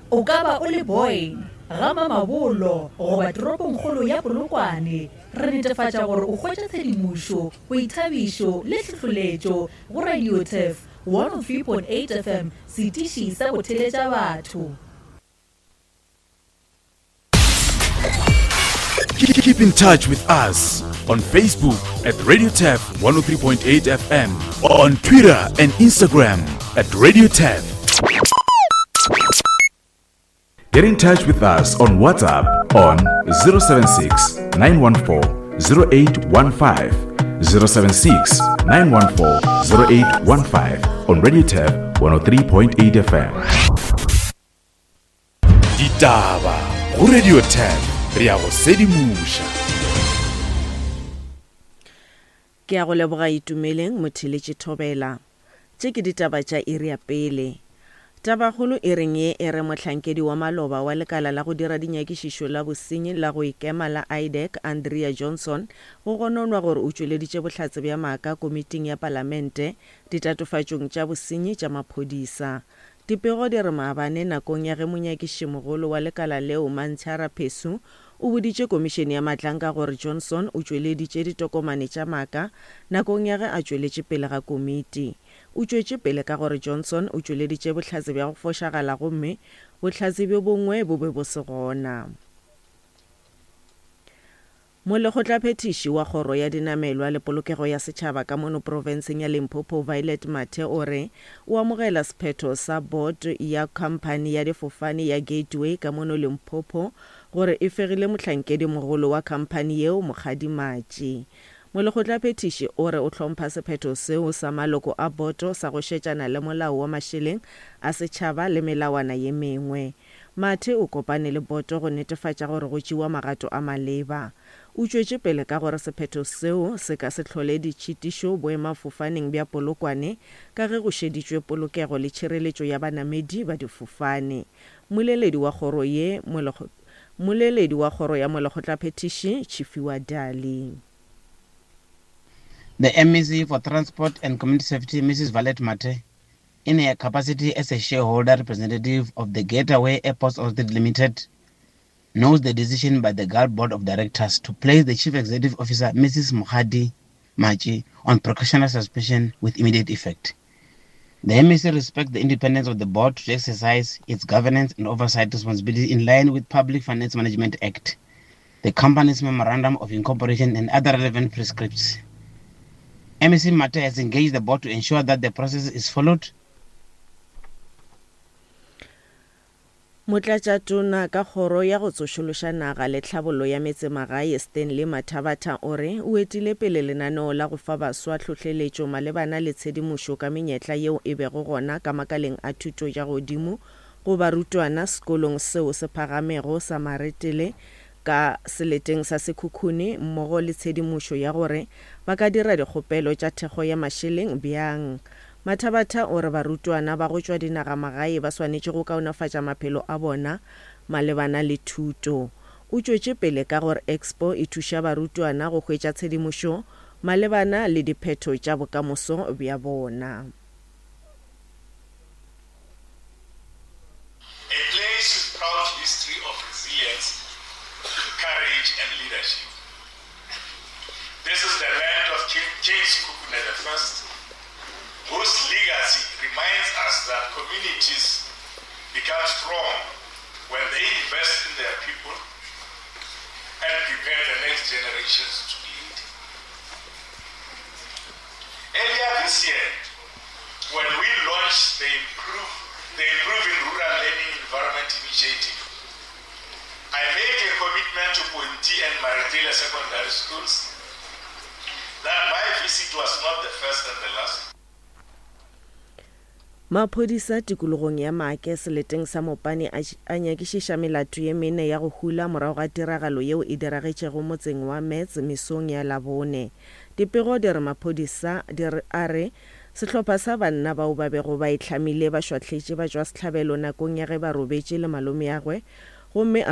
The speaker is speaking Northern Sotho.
O ka ba o le Boyne, ga Mamabolo goba toropongkgolo ya Polokwane, re netefatša gore o hwetša tshedimošo, boithabišo le tlhohloletšo go Radio Turf 103.8 FM, setiši sa go theletša batho. Keep in touch with us on Facebook at Radio Tef 103.8 FM, on Twitter and Instagram at Radio Tef. Get in touch with us on WhatsApp on 076 914 0815 076 914 0815 on Radio Tef 103.8 FM. Ditaba go Radio 10 re ya go sedimoša. Ke a go leboga Itumeleng Motheletši Thobela. Tše ke ditaba tša iri ya pele. Tabakgolo iring ye e re mohlankedi wa maloba wa lekala la go dira dinyakišišo la bosenyi la go ikema la IDAC Andrea Johnson go gononwa gore o tšweleditše bohlatse bja maaka komiting ya palamente ditatofatšong tša bosenyi tša maphodisa. Dipego di re maabane nakong ya ge monyakišimogolo wa lekala leo Mantshara Phesu o boditše komišene ya Matlanka gore Johnson o tšweleditše ditokomane tša maaka nakong ya ge a tšweletše pele ga komiti. O tšwetše pele ka gore Johnson o tšweleditše bohlatse bja go fošagala gomme bohlatse bjo bongwe bo be bo se gona. Molekgotlaphethiši wa Kgoro ya Dinamelwa le Polokego ya Setšhaba ka mono profenseng ya Limpopo Violet Mathe o re o amogela sephetho sa board ya khamphani ya difofane ya Gateway ka mono Limpopo gore e fegile mohlankedimogolo wa khamphani yeo Mokgadi Matši. Molekgotlaphethiši o re o hlompha sephetho seo sa maloko a boto sa go šetšana le molao wa mašeleng a setšhaba le melawana ye mengwe. Mathe o kopane le boto go netefatša gore go tšewa magato a maleba. O tšwetše pele ka gore sephetho seo se ka se hlole ditšhitišo boemafofaneng bja Polokwane ka ge go šeditšwe polokego le tšhireletšo ya banamedi ba difofane. Mmoleledi wa kgoro ye Mmoleledi wa kgoro ya Molekgotlaphethiši, Tshifhiwa Dali. The MEC for Transport and Community Safety, Mrs Violet Mathe, in her capacity as a shareholder representative of the Gateway Airports Authority Limited, knows the decision by the GAL Board of Directors to place the Chief Executive Officer, Mrs. Mukhadi Machi, on precautionary suspension with immediate effect. The MEC respects the independence of the board to exercise its governance and oversight responsibility in line with Public Finance Management Act, the company's memorandum of incorporation and other relevant prescripts. MEC Mathe has engaged the board to ensure that the process is followed. Motlatšatona ka Kgoro ya go Tsošološa Naga le Tlhabollo ya Metsemagae Stanley Mathabatha o re o etile pele lenaneo la go fa baswa tlhohleletšo malebana le tshedimošo ka menyetla yeo e bego gona ka makaleng a thuto ya godimo go barutwana sekolong seo se phagamego sa Maretele ka seleteng sa Sekhukhune mmogo le tshedimošo ya gore ba ka dira dikgopelo tša thekgo ya mašeleng bjang. Mathabatha o re barutwana ba go tšwa dinagamagae ba swanetše go kaonafatša maphelo a bona malebana le thuto. O tšwetše pele ka gore Expo e thuša barutwana go hwetša tshedimošo malebana le diphetho tša bokamoso bja bona. A place with proud history of resilience, courage and leadership. This is the land of King, King Sekhukhune I, whose legacy reminds us that communities become strong when they invest in their people and prepare the next generations to lead. Earlier this year, when we launched the, Improve, the Improving Rural Learning Environment Initiative, I made a commitment to Ponti and Maretele secondary schools that my visit was not the first and the last. Maphodisa tikologong ya Maake seleteng sa Mopani a a nyakišiša melato ye mene ya go hula morago ga tiragalo yeo e diragetšego motseng wa Metz mesong ya Labone. Dipego di re maphodisa di re a re sehlopha sa banna bao ba bego ba itlhamile ba šwahletše batšwasehlabelo nakong ya ge ba robetše le malomeagwe gomme a.